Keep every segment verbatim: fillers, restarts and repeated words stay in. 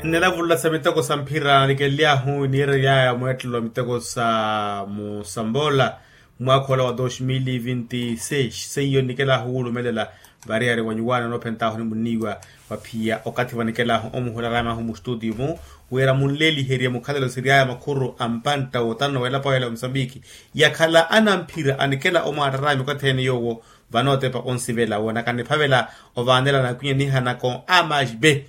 Nnilavulula sa miteko sa mphira nikeliahu niireryaya mweettelo wa miteko sa musamboola, mwaakha ola wa dos mil vinti seis seiyo nikelahu wulumelela. Variyari wa nyuwaana noophentaahu nimunniiwa, waphiya okathi vanikelahu omuhula raamahu mustutiyu-mu, wira munleeliherye mukhalelo siryaya makhuru a mpantta wootano welapaweela omusambiki, yakhala anamphira anikela omwaattarami okathi ene yoowo. Vanootepa onsivela woonaka niphavela ovaanela nakwinya nihanako a mashbe.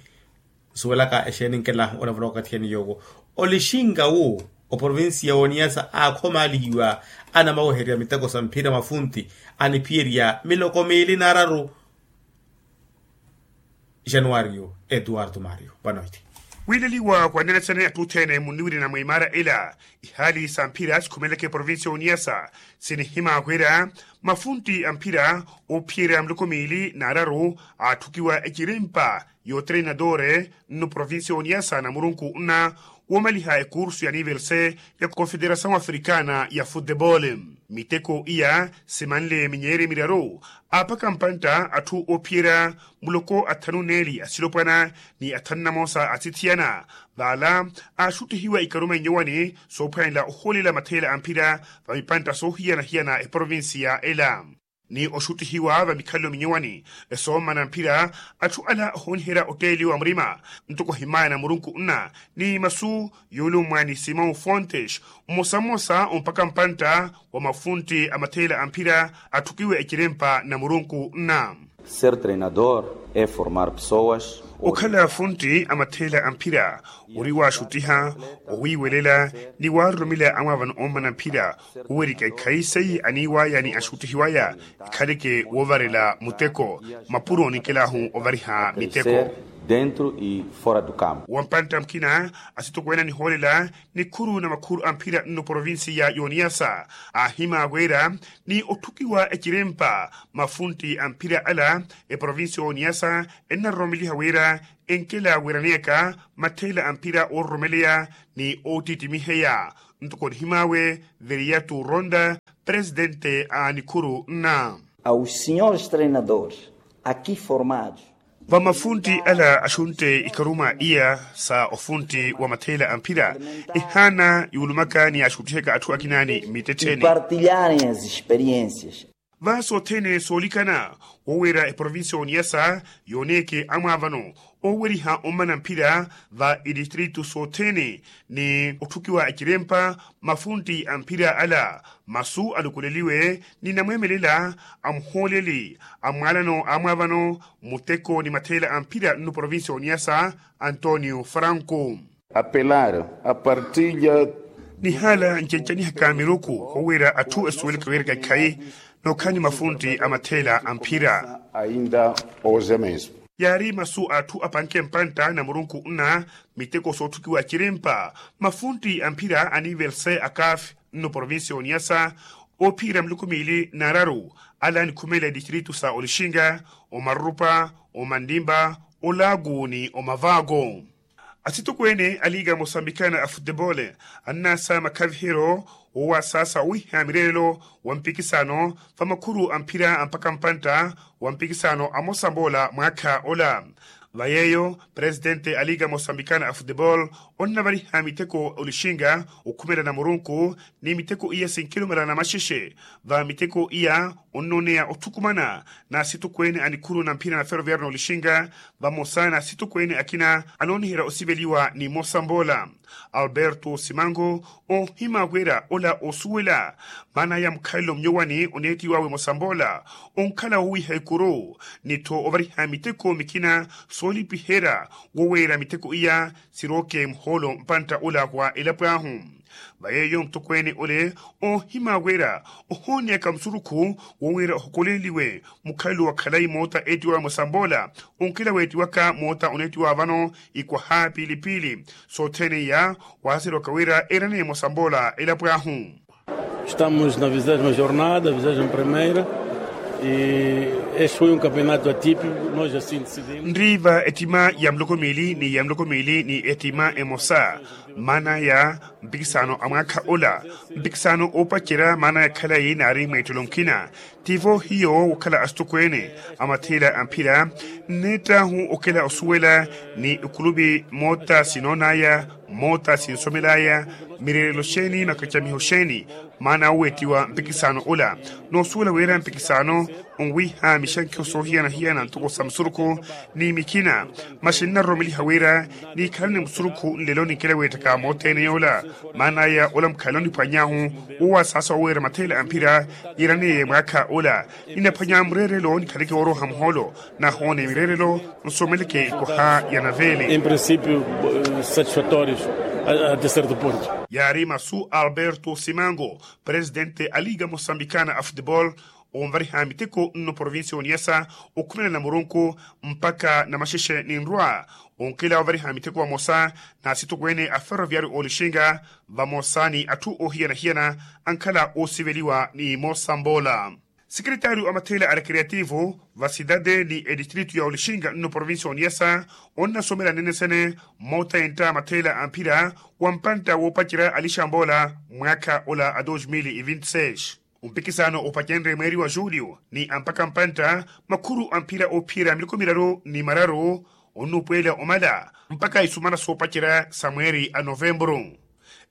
Nsuwelaka exeeni nkelahu olavula okathi ene yoowo, olixinga wu oprovincia woniyasa aakhomaalihiwa anamaweherya miteko sa mphira mafunti aniphiyerya miloko miili naararu. Januario eduardo mario panoiti. Wiileliwa kwaneletsene atthu othene munniwirina mwa imaara ela, ihaali sa mphira sikhumeleke provincia oniyasa sinihimaakwera mafunti a mphira ophiyerya miloko miili naararu, atthukiwa ecirempa y'otreinadore nnu provincia oniyasa na murunku nna woomaliha ekursu ya nivel se ya confederasaw africana ya futebol. Miteko iya simanle minyeeri miraru, aapaka mpantta atthu oophiyerya muloko athanu neeli asilopwana ni athanu namosa asithiyana, vaala aaxuttihiwa ikaruma inyowani soophwanela ohoolela matheela a mphira va mipantta soohiyana-hiyana eprovincia ela. Ni oxuttihiwa va mikhalelo minyowani esoommana mphira, atthu ala ohooniherya otteeliwa murima ntoko himaya na murunku nna ni masu yoolummwa ni simon fontes, mmosa-mmosa ompaka mpantta wa mafunti a matheela a mphira atthukiwe ecirempa na murunku nna. Ser treinador e formar pesoas. Okhala funti a matheela a mphira ori waaxuttiha, owiiwelela ni waaroromela amwaavano oommana mphira, kuwerika ikhayi seiye aniiwaya ni axuttihiwaya ekhaleke woovarela muteko mapuro ninkelahu ovariha miteko. Dentro e fora do campo wampantta mukina asitokweene anihoolela nikhuru na makhuru a mphira nno provincia y'oniyasa, aahimaaweera ni otthukiwa ecirempa mafunti a mphira ala eprovincia y'oniyasa ennaroromeliha wira enkela wiraneyaka matheela a mphira oororomeleya ni oottittimiheya. Ntoko nihimaawe veriyato ronda presidente a nikhuru nna. Aos senhores treinadores aqui formados. Vamafunti ala axuntte ikaruma iya sa ofunti wa matheela a mphira, ehaana yuulumaka ni yaaxuttihaka atthu akinaani mmittettheni. Partilharem as experiências. Va sothene soolikana woowira eprovincia oniyasa yooneke amwaavano ooweriha ommana mphira va itistritu sothene ni otthukiwa ecirempa mafunti a mphira ala masu alukuleliwe ni namweemelela a muhooleli a mwaalano a mwaavano muteko ni matheela a mphira nnu provincia oniyasa antonio franco. Apelar a partilha. Nihaala ncencanihaka miruku owiira atthu esuweleke wiiraka ikhayi nookhala ni mafunti a matheela a mphira. Ainda hoje mesmo. Yaari masu a atthu apanke mpantta na murunku nna miteko sootthukiwa cirempa mafunti a mphira a nivel se a kaf nno provincia oniyasa ophiyerya miluku miili n'araru ala anikhumelela etistritu sa olixinga, omarurupa, omanlimpa, olaaku ni omavaako. Asitokweene a liga mosambikana a futebole annaasa makhaviheryo owasaasa owiha mireerelo wa mpikisano va makhuru a mphira a mpaka mpantta wa mpikisano a mosamboola mwaakha ola. Va yeeyo presitente a liga mosambikana a futebole onnavariha miteko olixinga okhumela na murunku ni miteko iya sinkilumela na maxexe. Va miteko iya onnooneya otthukumana na asitokweene a nikhuru na mphira na feroviario n'olixinga vamosa na asitokweene akina anooniherya osiveliwa ni mosamboola. Alberto simango oohimaakwera ola oosuwela maana ya mukhalelo munyowani oneettiwawe mosamboola onkhala wowiha ikuru ni-tho ovariha miteko mikina soolipiherya woweera miteko iya sirooke muhoolo mpantta ola wa elapo ahu. Va yeeyo mutokweene ole oohimaawerya ohooneyaka musurukhu wowiira ohokoleliwe mukhalelo wa khalayi moota eettiwawe mosamboola onkela weettiwaka moota oneettiwa vano ikwaha piili-piili. Sothene iya waaserewaka wira eeraneye mosamboola elapo ahu. Estamos na vigésima jornada vigésima primeira. Este foi um campeonato atípico, nós assim decidimos. Nriiva ettima ya muloko miili ni ya muloko miili ni ettima emosa, maana ya mpikisano a mwaakha ola. Mpikisano oopacerya maana ya khalayi naari mweettelo nkina. Tivo hiyo wokhala asitokweene a matheela a mphira, nneettahu okela osuwela ni okulupi moota sinoonaya, moota sinsomelaya, mireerelo xeeni makacamiho xeeni, maana wowettiwa mpikisano ola. Noosuwela wira mpikisano onwiha mixankiho soohiyana-hiyana ntoko sa musurukhu ni mikina, masi nnaroromeliha wira niikhalani musurukhu nlelo ninkela weettaka mootthene yoola. Maana ya ola mukhalelo niphwanyahu wowasaasa wowira matheela a mphira, yiraneye mwaakha ola ninaphwanya mureerelo nikhaleke wooroha muhoolo, nahoone mireerelo nsomeleke ikoha ya naveele. Em princípio, satisfatórios até certo ponto. Yaari masu a alberto simango, presidente a liga moçambicana a futebol, onvariha miteko nno provincia oniyasa, okhumela na murunku mpakha na maxexe ninrwa. Onkela ovariha miteko vamosa na asitokweene a ferroviario olixinga, vamosa ni atthu ohiyana-hiyana ankhala osiveliwa ni mosa mboola. Sekretario a matheela a recreativo va cidade ni edistrito ya olixinga nno provincia oniyasa, onnasomela nnenesene moota entta a matheela a mphira wa mpantta woopacerya alixa mboola mwaakha ola a dos mil e vinte seis. Ompikisano opacenrye mweeri wa julio ni ampakha mpantta makhuru a mphira oophiyerya miloko miraru ni mararu, onnupweela omala mpakha isumana soopacerya sa mweeri a novemburu.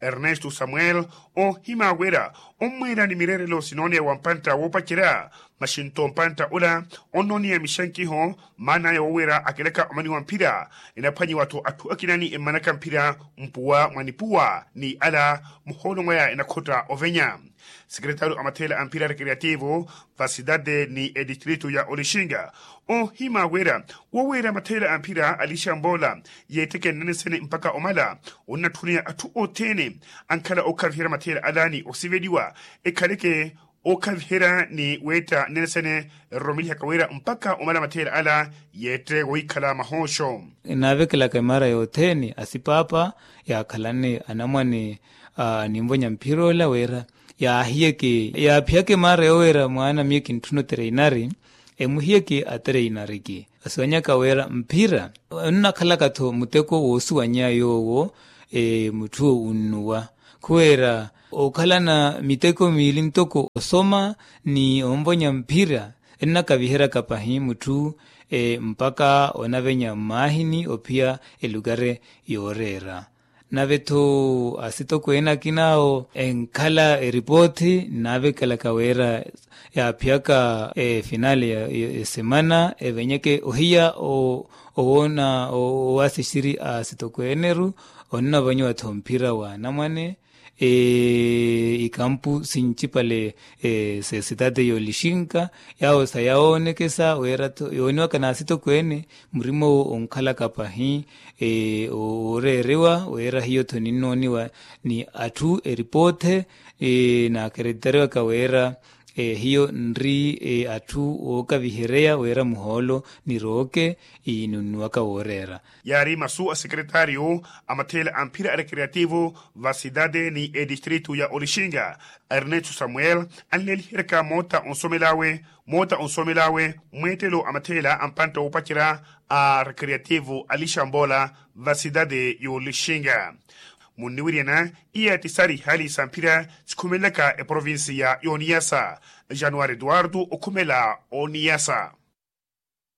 Ernesto samuel, oohima wira ommweela ni mireerelo sinooneya wa mpantta woopacerya, maxinto mpantta ola onnooniya mixankiho, maan'aya woowira akelaka omani wa mphira. Enaphwanyiwa-tho atthu akina ni emmanaka mphira mpuwa mwa nipuwa ni ala muhoolo mwaya enakhotta ovenya. Sekretario a matheela a mphira recreativo va cidade ni edistrito ya olixinga, oohima wira woowira matheela a mphira alixa mboola yeetteke nnenesene mpakha omala, onnatthuneya atthu othene ankhala ookhaviherya matheela ala ni osiveliwa, ekhaleke ookhaviherya ni weetta nnenesene eroromelihaka wira mpakha omala matheela ala yeette wohikhala mahooxo. Enaavekelaka emaara yothene asipaapa yaakhalane anamwane a ninvonya mphira ola wira yaahiyeke yaaphiyaka emaara yowira mwaana miyo kintthuna otereinari, emuhiyeke atereinariki. Asuwanyaka wira mphira onnakhalaka-tho muteko woosuwanya yoowo mutthu onnuwa. Khuwira okhalana miteko miili ntoko osoma ni onvonya mphira ennakaviheryaka pahi mutthu mpakha onavenya mmaahini ophiya elukari yooreera. Nave-tho asitokweene akin'awo enkhala eripoothi nnaavekelaka wira yaaphiyaka efinale ya esemana evenyeke ohiya owoona owaasixiri a asitokweeneru. Onnavonyiwa-tho mphira wa anamwane ikampu sincipale sesitati y'olixinka yaawo sayawoonekesa wira-tho yooniwaka n'asitokweene murima owo onkhalaka pahi. Ooreeriwa wira hiyo-tho ninnooniwa ni atthu eripoothi naakeretitariwaka wira hiyo nri atthu ookavihereya wira muhoolo nirooke ninunnuwaka wooreera. Yaari masu a sekretario a matheela a mphira a recreativo va cidade ni edistrito ya olixinga, ernesto samuel anleeliheryaka moota onsomel'awe moota onsomel'awe mweettelo a matheela a mpantta woopacerya a recreativo alixa mboola va cidade y'olixinga. Munniwiryana iya ti sari hali sa mphira sikhumelelaka eprovincia y'oniyasa. Januari eduardo okhumela oniyasa.